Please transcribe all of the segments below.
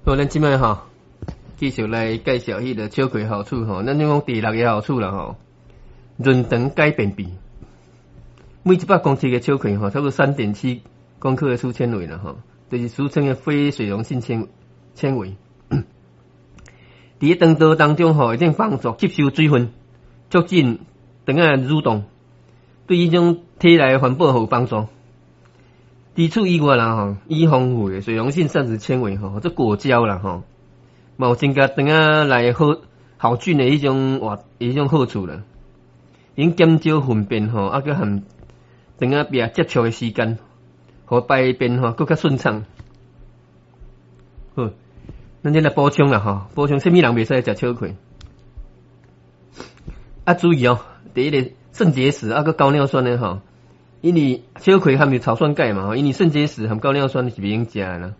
好，咱這擺吼，繼續來介紹彼个秋葵好處吼。咱就講第六个好處啦吼，潤腸解便秘。每100公克的秋葵吼，差不多3.7公克的粗纖維啦吼，就是俗稱的非水溶性纖維。佇咧腸道當中吼，會當幫助吸收水分，促進腸仔蠕動，對彼種體內環保有幫助。除此以外啦吼，伊豐富的水溶性膳食纖維吼，做果膠啦吼，嘛有增加腸仔內好好菌的彼種活彼種好處啦。用減少糞便吼，啊閣和腸仔壁接觸的時間，予排便吼閣較順暢。好，咱這來補充啦吼，補充啥物人袂使食秋葵？啊，注意哦，佇彼个腎結石啊閣高尿酸的吼。因為秋葵含有草酸鈣嘛，因為腎結石含高尿酸是袂用食的啦，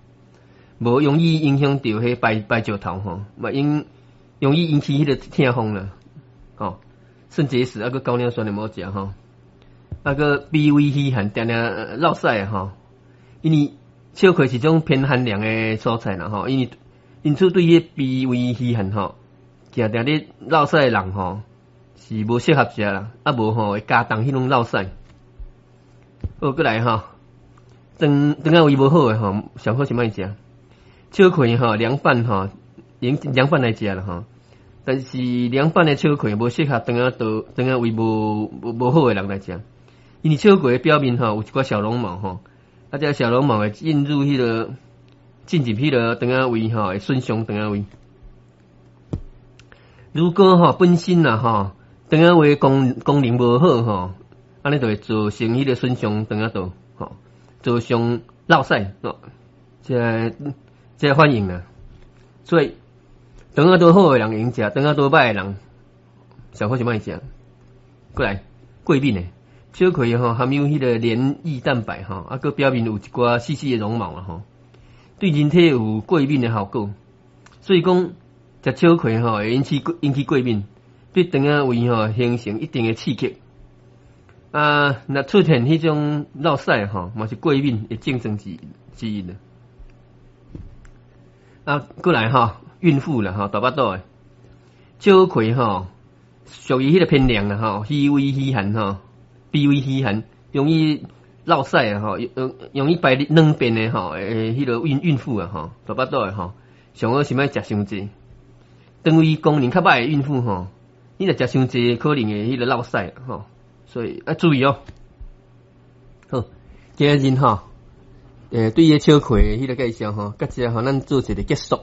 無容易影響著彼排排石頭吼，嘛應容易引起彼個痛風啦，吼，腎結石啊閣高尿酸的毋好食吼，啊閣脾胃虛寒，定定落屎吼，因為秋葵是種偏寒涼的蔬菜啦吼，因為因此對彼個脾胃虛寒吼，定定咧落屎的人吼是無適合食啦，啊無吼會加重彼種落屎。好，閣來吼，腸腸仔胃無好的吼，上好是莫食。秋葵吼，涼拌吼，用涼拌來食啦吼。但是涼拌的秋葵無適合腸仔道腸仔胃無好的人來食，因為秋葵的表面吼有一寡小絨毛吼，啊，這小絨毛會進入彼个進入彼个腸仔胃吼，會損傷腸仔胃。如果吼本身啦吼腸仔胃功能無好吼，按呢就會造成彼个損傷腸仔道，吼，造成落屎，吼，這個反應啦。所以腸仔道好的人會用食，腸仔道歹的人上好是莫食。過來過敏的秋葵吼，含有彼个黏液蛋白吼，啊，閣表面有一寡細細的絨毛啊吼，對人體有過敏的效果。所以講食秋葵吼會引起過敏，對腸仔胃吼形成一定的刺激。啊，若出現彼種落屎吼，嘛是過敏的症狀之一啦。啊，過來吼，孕婦啦吼，大腹肚的秋葵吼，屬於彼个偏涼啦吼，虛胃虛寒吼，脾胃虛寒，容易落屎啊吼，容易排軟便的吼，誒，彼個孕婦啊吼，大腹肚的吼，上好是莫食傷濟。腸胃功能較歹的孕婦吼，你若食傷濟，可能會彼個落屎吼。所以愛注意哦。好，今日吼，對彼個秋葵彼個介紹吼，到這吼，咱做一個結束。